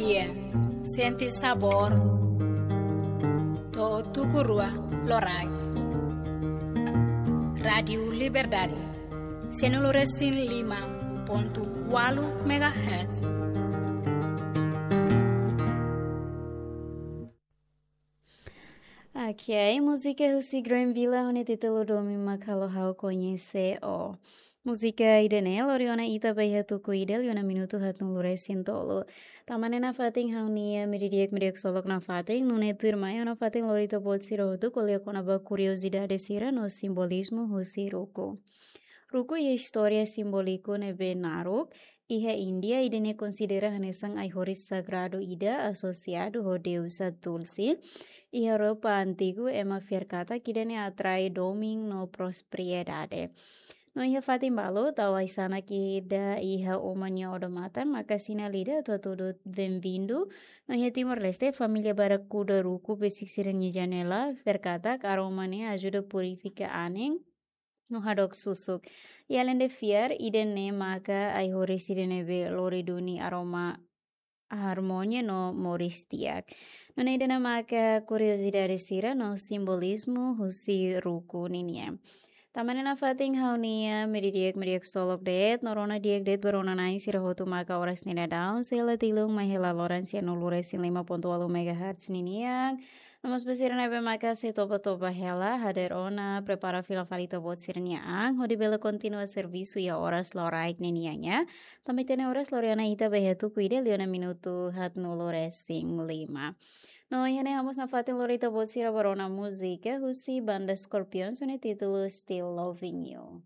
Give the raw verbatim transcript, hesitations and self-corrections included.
Sente sabór. To'o tuku rua loraik. Rádiu Liberdade. Sianulu resin lima pontu ualu megahertz. Ok, múzika husi Granville ho nia títulu Domin mak halo ha'u koñese ó. Múzika ida-ne'e lori ona ita ba iha tuku ida liu ona minutu haatnulu resin tolu. Tanba ne'e nafatin ha'u-nia mediodía, mediodía ksolok nafatin, nune'e tuirmai ha'u nafatin lori ita-boot sira hotu ko'alia kona-ba kuriozidade sira no simbolizmu husi ruku. Ruku iha istória simbóliku ne'ebé naruk. Iha Índia, ida-ne'e konsidera hanesan ai-horis sagradu ida asosiadu ho deusa Tulsi. Iha Europa antigu, ema fiar katak ida-ne'e atrai domin no prosperidade. No iha fatin balu, tau ai-sanak ida iha uma nia odamatan maka sinál ida atu hatudu benvindu. No iha Timor-Leste, família barak kuda ruku besik sira-nia janela, fiar katak aroma ne'e ajuda purifika anin no hadook susuk. I aleinde fiar, ida-ne'e maka ai-horis ida ne'ebé lori duni aroma harmonia no moris di'ak. Nune'e ida-ne'e maka kuriozidade sira no simbolizmu husi ruku ninian. Tanba ne'e nafatin ha'u-nia mediodía, mediodía ksolok de'it, no rona di'ak de'it ba rona-na'in sira hotu maka oras ne'e daudaun sei la tilun mai hela loron sianulu resin lima pontu ualu megahertz ninian. No mós ba sira ne'ebé maka sei toba-toba hela, hadeer ona, prepara fila fali ita-boot sira-nia an, hodi bele kontinua servisu iha oras loraik ninian ya. Tanba ita-nia oras lori ona ita ba iha tuku ida liu ona minutu haatnulu resin lima. No iha ne'e ha'u mós nafatin lori ita-boot sira ba rona múzika husi banda Scorpions ho nia títulu Still Loving You.